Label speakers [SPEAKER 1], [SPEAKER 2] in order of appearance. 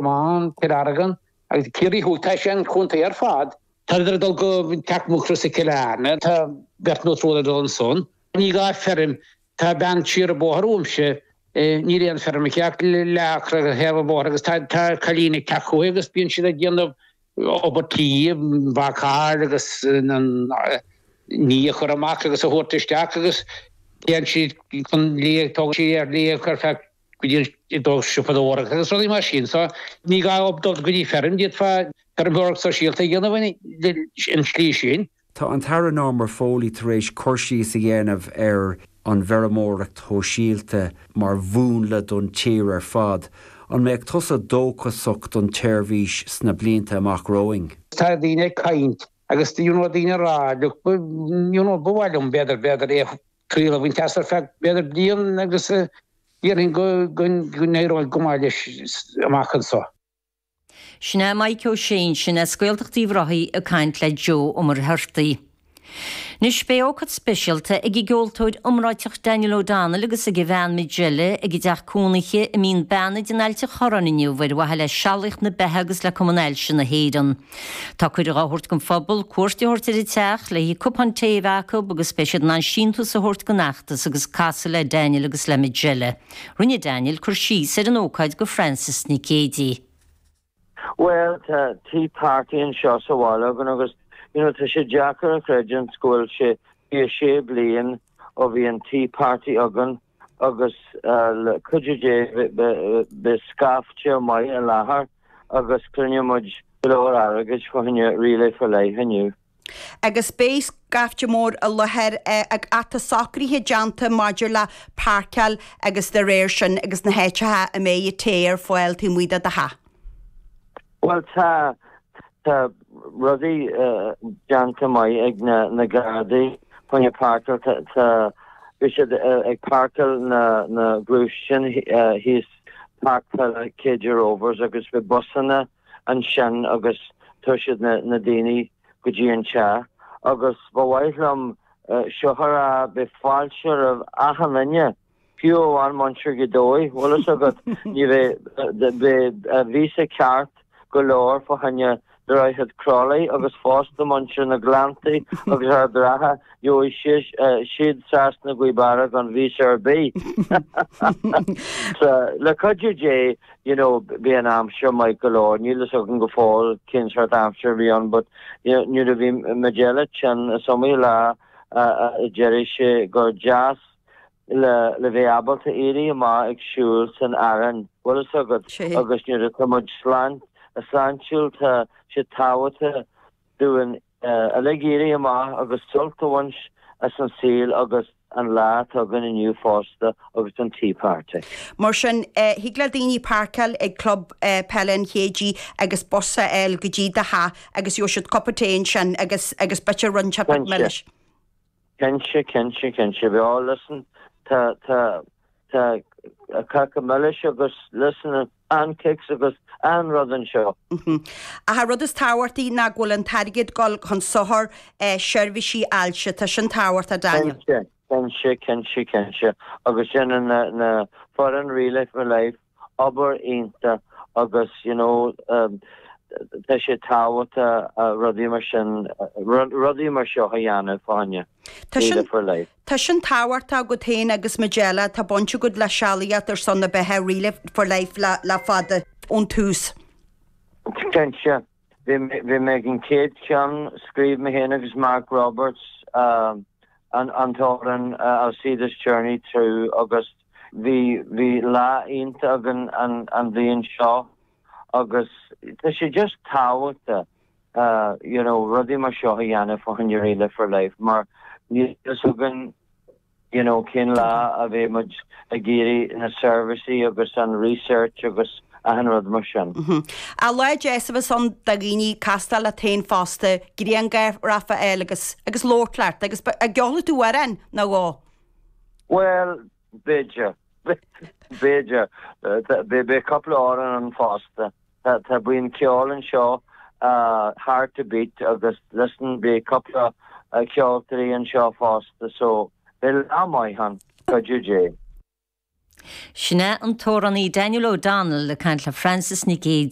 [SPEAKER 1] Comáin, Cill Airghin agus Ciarraí Thuaidh. Tá sé an chontae ar fad. Tá ag dul go Teach Mhucrois i Cill Airne. Tá beirt nó triúr ag dul ansan. Ní gá feirm. Tá bean siar an bóthar uaimse. Níl aon feirm aici ach leath acra ar thaobh an bhóthair agus tá tá cailín ag teacht chuici agus bíonn siad ag déanamh obair tí, bácáil agus an ní a chur amach agus a thabhairt isteach agus téann siad chun liath, tógann siad ar liath ar feadh go dtí an dul siopadóireacht agus rudaí mar sin. So ní gá dul go dtí feirm, d'fhéadfá feirmeoireacht sóisialta a dhéanamh an tslí sin.
[SPEAKER 2] Tá an tAire Norma Foley tar éis cur síos a dhéanamh ar an bhfeirmeoireacht shóisialta mar mhúnla don tír ar fad. An mbeadh tusa dóchasach don tseirbhís sna blianta amach romhainn?
[SPEAKER 1] Tá daoine ag caint agus you know daoine ag rá look you know ba mhaith liom b'fhéidir b'fhéidir é triail a bhaint as ar feadh b'fhéidir bliain agus déarfainn go go n-éireoidh go maith leis amach anseo.
[SPEAKER 3] Sin é Mike Ó Sé ansin as Gaeltacht Uíbh Ráthaigh ag caint le Joe Ó Muircheartaigh. Anois beidh ócáid speisialta ag an gceoltóir iomráiteach Daniel O'Donnell agus ag a bhean Majella ag a dteach cónaithe i Mín Beannaid in Ailt an Chorráin inniu ar mhaithe le Sealaíocht na Beatha agus le Cumann Ailse na hÉireann. Tá cuireadh á thabhairt don phobal cuairt a thabhairt ar an teach le cupán tae a bheith acu agus beidh siad in ann síntiús a thabhairt don fheachtas agus casadh le Daniel agus le Majella. Rinne Daniel cur síos ar an ócáid go Frances Nic Géadaigh.
[SPEAKER 4] Bhuel, tá tea party anseo sa bhaile againn agus you know tá sé deacair a chreidiúint go bhfuil sé 26 bliain ó bhí an tea party againn agus le cuidiú Dé beidh scaifte maith i láthair agus cruinneoidh muid go leor airgid fá choinne Relay for Life inniu.
[SPEAKER 5] Agus beidh scaifte mór i láthair ach tá socruithe déanta maidir le páirceáil agus dá réir sin agus na háiteacha a mbeidh an tae ar fáil taobh amuigh de do theach.
[SPEAKER 4] Bhuel tá, tá rudaí déanta maith ag na na Gardaí fá choinne páirceáil, tá, tá, beidh siad ag páirceáil na na gluaisteáin thíos Páirc Peile KJ Rovers agus beidh busanna ansin agus tabharfaidh siad na daoine go dtí an teach agus ba mhaith liom seo a rá, beidh fáilte roimh achan duine, fiú amháin muintir Ghaoth Dobhair, bhfuil fhios agat, ní bheidh, beidh víosa ceart go leor fá choinne Droichead Crolly agus fosta muintir na Gleanntaí agus Ard an Rátha, gheobhaidh siad trasna Gaoth Beara gan víosa ar bith. Le cuidiú Dé, you know, beidh an aimsir maith go leor, níl fhios agam go fóill cén sórt aimsir a bhí ann but you know, nuair a bhí Majella tinn is iomaí lá a deireadh sé gur deas le le bheith ábalta éirí amach ag siúl san fhearann, bhfuil fhios agat, agus nuair atá muid sláintiúil tá sé tábhachtach dúinn uilig éirí amach agus sult a bhaint as an saol agus an lá atá againn inniu fosta agus an Tea Party.
[SPEAKER 5] Mar sin, thig le daoine páirceáil ag Club Peile an Chéidigh agus bus a fháil go dtí do theach agus gheobhaidh siad cupa tae ansin agus agus b'fhéidir roinnt milis.
[SPEAKER 4] Cinnte, cinnte, cinnte. Bhuel, listen, tá, tá, tá cáca milis agus, listen, pancakes agus achan rud anseo.
[SPEAKER 5] Ach an rud is tábhachtaí ná go bhfuil an t-airgead ag dul chun sochair seirbhísí ailse. Tá sin tábhachtach, Daniel.
[SPEAKER 4] Cinnte, cinnte, cinnte, cinnte. Agus déanann na, na foireann Relay for Life obair iontach agus you know tá sé tábhachtach rudaí mar sin, rudaí mar seo a dhéanamh fá choinne Relay for Life.
[SPEAKER 5] Tá sin tábhachtach agat féin agus Majella, tá baint agat le sealaíocht ar son na beatha Relay for Life le fada, ón tús.
[SPEAKER 4] Cinnte. Bhí mé ag an chéad cheann, scríobh mé féin agus Mark Roberts an t-amhrán I'll See This Journey Through agus bhí bhí lá iontach againn an bhliain seo agus tá sé just tábhachtach you know rudaí mar seo a dhéanamh fá choinne Relay for Life mar níl fhios againn you know cén lá a bheidh muid ag iarraidh na seirbhísí agus an research agus achan rud mar sin.
[SPEAKER 5] Ach lá deas a bheas ann do dhaoine castáil leat féin fosta, grianghraf a fháil agus agus labhairt leat agus an gceolfaidh tú amhrán nó dhó?
[SPEAKER 4] Bhuel, b'fhéidir, b'fhéidir. Beidh cúpla amhrán ann fosta. Tá buíon ceoil anseo, Heart to Beat agus listen beidh cúpla ceoltóirí anseo fosta so beidh lá maith ann, cuidiú Dé.
[SPEAKER 3] Sin é an t-amhránaí Daniel O'Donnell ag caint le Frances Nic Géadaigh.